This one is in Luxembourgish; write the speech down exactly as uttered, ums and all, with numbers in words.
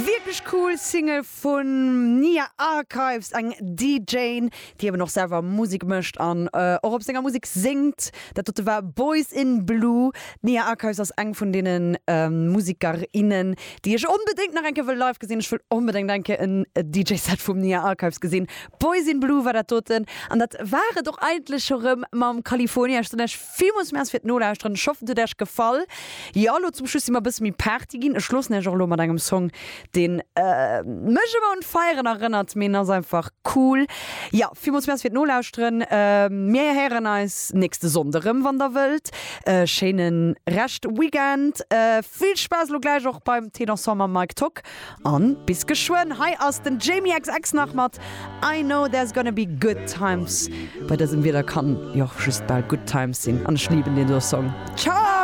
Wierklech cool Single vun Nia Archives, eng D J, déi eben och selwer Musek mécht an äh, och op senger Musek séngt. Dat dote war Boys in Blue. Nia Archives ass eng vun deenen ähm, Musekerinnen, déi ech onbedéngt nach eng Kéier wëll live gesinn. Ech wëll onbedéngt eng Kéier en D J-Set vum Nia Archives gesinn. Boys in Blue war dat doten. An dat war et och eigentlech schonn erëm mam California. Ech soen iech villmools Merci fir d'Nolauschteren. Ech hoffen, et huet iech gefall. Jo, lo zum Schluss si mer e bësse méi Party ginn. Ech loossen iech och lo mat engem Song, deen äh, mech ëmmer un Feieren erënnert. Mee ass einfach cool. Jo, villmools Merci fir d'Nolauschteren. Äh, mir héieren eis nächste Sonndeg erëm, wann der wëllt. Äh, schéine Rescht Weekend. Äh, vill Spaass lo gläich och beim Thé Dansant mam Mike Tock. An bis geschwënn. Hei ass den Jamie X X nach mat I Know There's Gonna Be Good Times. Bei dësem Wieder kann jo just bal Good Times sinn. An ech liben deen Song. Ciao!